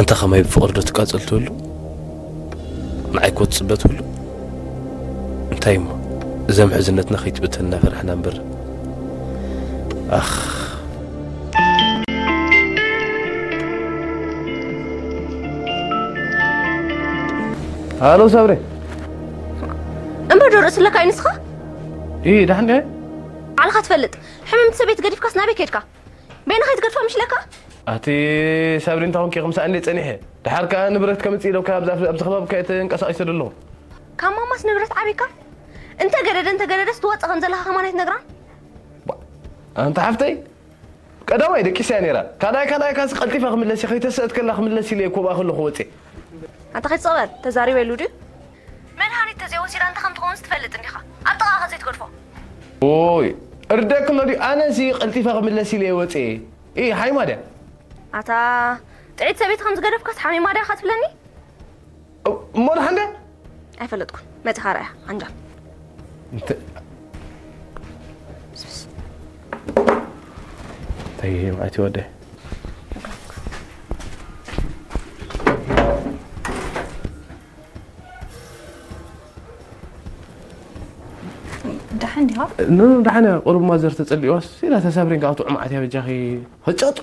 እታ ኸማይ ብፍቕሪ ዶ ትቃጸል ትህሉ? ንዓይ እኮ ትጽበ ትህሉ? እንታይ እሞ፣ እዛ ምሕዝነትና ከይትብተን እናፈራሕና እምበር። ኣኽ። ሃሎ ሳብሪ። እምበር ዶ ርእሲ ኣለካ እዩ ንስኻ? ኢ ዳሕን ዲያ? ባዕልኻ ትፈልጥ። ሕምምቲ ሰበይቲ ገዲፍካስ ናበይ ከድካ? በይንኻ ትገድፋ ምሽ ለካ? ኣቲ ሳብሪ እንታይ ኮንኪ ክምሳእ እንደ ጸኒሐ? ድሓር ከኣ ንብረት ከምጽእ ኢለካ ኣብዚ ኣብዚ ከባቢ ከይተንቀሳቒሰ ዘለኹ። ካብ ማማስ ንብረት ዓቢካ? እንተ ገደደ እንተ ገደደስ ትወጽእ ከም ዘለኻ ከማን ኣይትነግራን? ኣንታ ሓፍተይ ቀዳማይ ደቂሰያ ነይራ። ካልኣይ ካልኣይ ካስ ቀልጢፋ ክምለስ እየ፣ ከይተሰእት ከላ ክምለስ ኢለ እኮ ብኣ ከለኹ ወጽየ። ኣንታ ከይትጸበል ተዛሪበ ኢሉ ድዩ? መድሃኒት ተዘይወሲዳ እንታይ ከም ትኸውንስ ትፈልጥ እንዲኻ? ኣብ ጥቓኻ ዘይትገድፎ። ኦይ እርደክሎ ድዩ? ኣነሲ ቀልጢፋ ክምለስ ኢለ እየ ወጽየ። ኢ ሓይማ ድያ? ኣታ ጥዒት ሰበይቲ ከም ዝገደፍካስ ሓሚማ ድያ ኢኻ ትብለኒ? እሞ ድሓን ድያ? ኣይፈለጥኩን። መጺኻ ርኣያ ዓንጃል። እንተ እንታይ ማእቲ ወደ ደሓን ዲኻ? ኖ ደሓን እያ። ቁሩብ ማዘር ተጸሊእዋስ ኢላ ተሳብሬን ካብ ጥዑም ዓትያ በጃኺ ፈጨጡ።